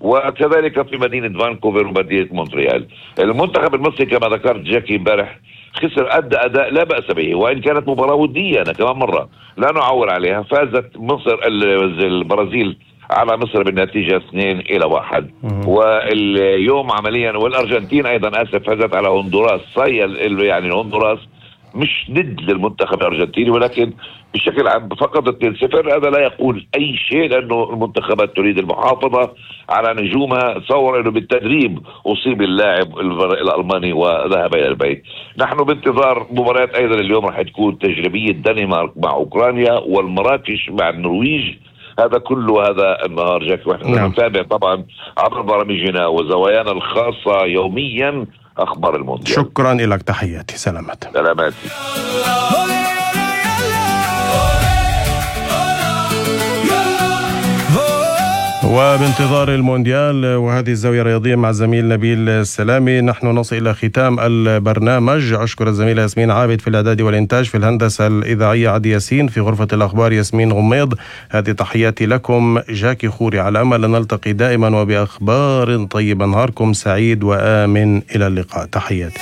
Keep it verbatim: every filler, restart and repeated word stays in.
وكذلك في مدينة فانكوفر ومدينة مونتريال. المنتخب المصري كما ذكرت جاكي امبارح خسر، أدى أداء لا بأس به، وإن كانت مباراة ودية أنا كمان مرة لا نعول عليها. فازت مصر البرازيل على مصر بالنتيجة اثنين إلى واحد. واليوم عمليا والأرجنتين أيضا آسف فازت على هندوراس. يعني هندوراس مش ضد للمنتخب الأرجنتيني، ولكن بشكل عام فقط اثنين صفر. هذا لا يقول أي شيء، لأنه المنتخبات تريد المحافظة على نجومها. تصور أنه بالتدريب أصيب اللاعب الألماني وذهب إلى البيت. نحن بانتظار مباريات أيضا اليوم راح تكون تجريبية دنمارك مع أوكرانيا والمراكش مع النرويج. هذا كله هذا النهار جاك، ونحن نتابع طبعا عبر برامجنا وزوايانا الخاصة يوميا أخبار المونديال. شكرا لك، تحياتي، سلامات. سلاماتي. وبانتظار المونديال وهذه الزاوية الرياضية مع الزميل نبيل السلامي نحن نصل إلى ختام البرنامج. أشكر الزميلة ياسمين عابد في الإعداد والإنتاج، في الهندسة الإذاعية عدي ياسين، في غرفة الأخبار ياسمين غميض. هذه تحياتي لكم، جاكي خوري، على أمل أن نلتقي دائما وبأخبار طيبة. نهاركم سعيد وآمن، إلى اللقاء، تحياتي.